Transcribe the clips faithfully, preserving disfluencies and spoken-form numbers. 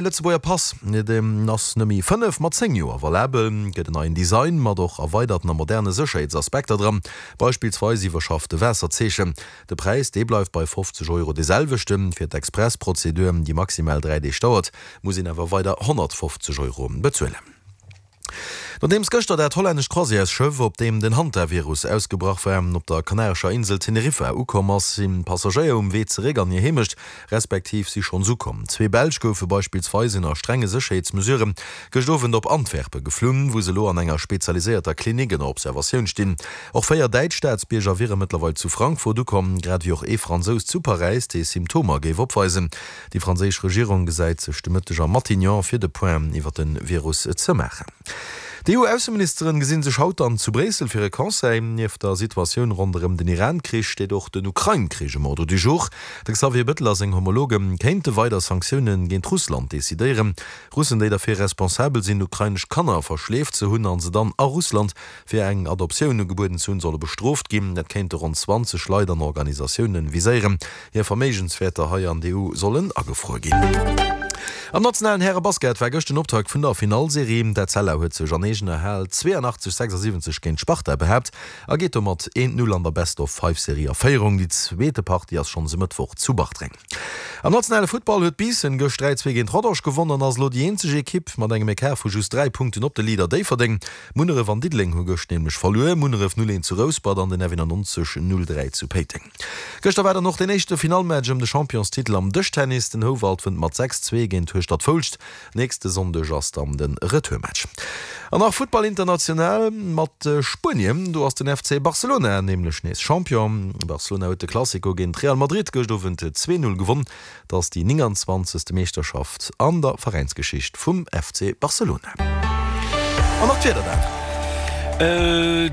Lëtzebuerger Pass, deen ass net méi fënnef, ma zéng Joer valabel. Gëtt en neien Design mat och erweiderten a moderne Sécherheetsaspekter dran, beispillsweis iwwerschaffte Waasserzeechen. De Präis, dee bleift bei fofzeg Euro dee selwechten. Fir d'Express-Prozedur, déi maximal dräi Deeg dauert, muss een awer weider honnertfofzeg Euro bezuelen. Nodeems gëschter dat hollännescht Croisièresschëff, op deem den Hantavirus ausgebrach war, op der kanarescher Insel Teneriffa ukomm ass, sinn d'Passagéier um Wee zeréck an hir Heemecht, respektiv si schonns ukomm. Zwee Belsch goufe beispillsweis ënner strenge Sécherheetsmesurë gëscht Owend op Antwerpe geflunn, wou se elo an enger spezialiséierter Klinik ënner Observatioun stinn. Och véier däitsch Staatsbierger wiere mëttlerweil zu Frankfurt ukomm, grad ewéi och ee Fransous zu Paräis, dee Symptomer géif opweisen. Déi franséisch Regierung gesäit sech de Mëtteg am Matignon, fir de Point iwwer de Virus ze maachen. D'EU-Ausseministeren gesi sech haut dann zu Bréissel fir e Conseil. Nieft der Situatioun ronderëm den Iran-Krich steet och den Ukrain-Krich um Ordre du jour. De Xavier Bettel a seng Homologe kéinte weider Sanktioune géint Russland decidéieren. Russen, déi derfir responsabel sinn, ukrainesch Kanner verschleeft ze hunn a se dann a Russland fir eng Adoptioun ugebueden ze hunn, solle bestrooft ginn. Dat kéinte ronn zwanzeg Leit an Organisatioune viséieren. Hir Verméigenswäerter hei an der E U sollen agefruer ginn. Am nationalen Häre-Basket war gëscht den Optakt vun der Finallserie. D'Etzella huet sech an eegener Hal zweeanachtzeg, sechsasiwwenzeg géint d'Sparta behaapt a geet domat eent, Null an der Best-of-Five-Serie a Féierung. Déi zweete Partie ass schonns e Mëttwoch zu Bartreng. Am nationale Futtball huet Biissen gëscht dräi, zwee géint Rodange gewonn an ass elo déi eenzeg Ekipp mat engem Ecart vu just dräi Punkten op de Leader Déifferdeng. Munneref an Diddeleng hu gëscht nämlech verluer, Munneref null eent zu Rouspert an den F eenannonzeg null dräi zu Péiteng. Gëschter war dann och deen éischte Finallmatch ëm de Championstitel am Dëschtennis. Den Houwald wënnt mat sechs, zwee géint Hueschtert-Foulscht. Nächste Sonndeg ass dann de Retourmatch. An nach Futtball international mat Spuenien. Do ass den F C Barcelona nämlech nees Champion. Barcelona huet de Clasico géint Real Madrid gëscht Owend zwee, null gewonn. Dat ass déi nénganzwanzegste Meeschterschaft an der Veräinsgeschicht vum F C Barcelona. An nach d'Wieder dat.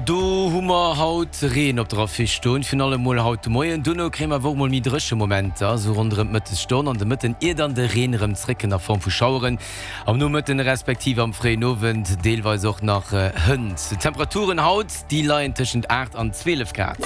Do hu mer haut Reen op der Affiche stoen, virun allem mol haut de Moien. Duerno kréie mer awer och mol méi dréche Momenter, esou ronderëm d'Mëttesstonn an de Mëtten, ier dann de Reen erëm zréckkënnt a Form vu Schaueren am Nomëtten respektiv am fréien Owend, deelweis och nach Hënt. D'Temperaturen haut, déi leien tëschent aacht an zwielef Grad.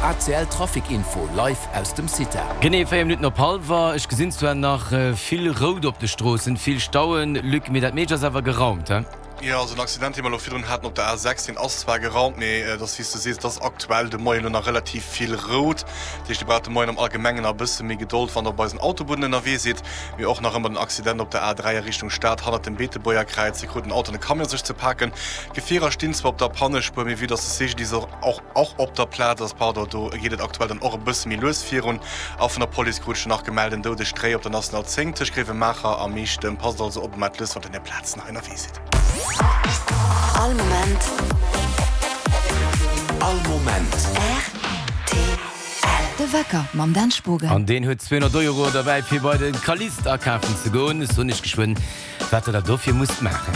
A C L Trafic Info live aus dem CITA. Genee véier Minutten op hallwer. Ech gesinn zwar nach vill Rout op de Stroossen, vill Stauen, Luc, mee dat meescht ass awer geraumt, he? Jo, also den Accident, dee mer elo virdrun haten op der A sechs, deen ass zwar geraumt, mee et ass wéi s de sees, et ass aktuell de Moien elo nach relativ vill rout. Dat heescht, Dir braucht de Moien am Allgemengen nach e bësse méi Gedold, wann Der op eisen Autobunnen ënnerwee sidd. Mee och nach ëmmer den Accident op der A dräi a Richtung Stad hannert dem Beetebuerger Kräiz, do krut en Auto an e Camion sech ze paken. D'Gefierer stinn zwar op der Pannespuer, mee vue dass de C G D I S och och op der Plaz ass, pardon, do geet et aktuell dann och e bësse méi lues virun. A vun der Police krut ech nach gemellt, en doudegt Réi op der National zéng tëscht Gréiwemaacher a Meechtem. Passt also op a maacht lues, wann der un där Plazen hei ënnerwee sidd. All Moment. All Moment. R T L. De Wecker mam Dan Spogen. An deen huet zweehonnert Euro derbäi fir bei de Calliste akafen ze goen. Ech soen iech geschwënn, wat der da dofir musst maachen.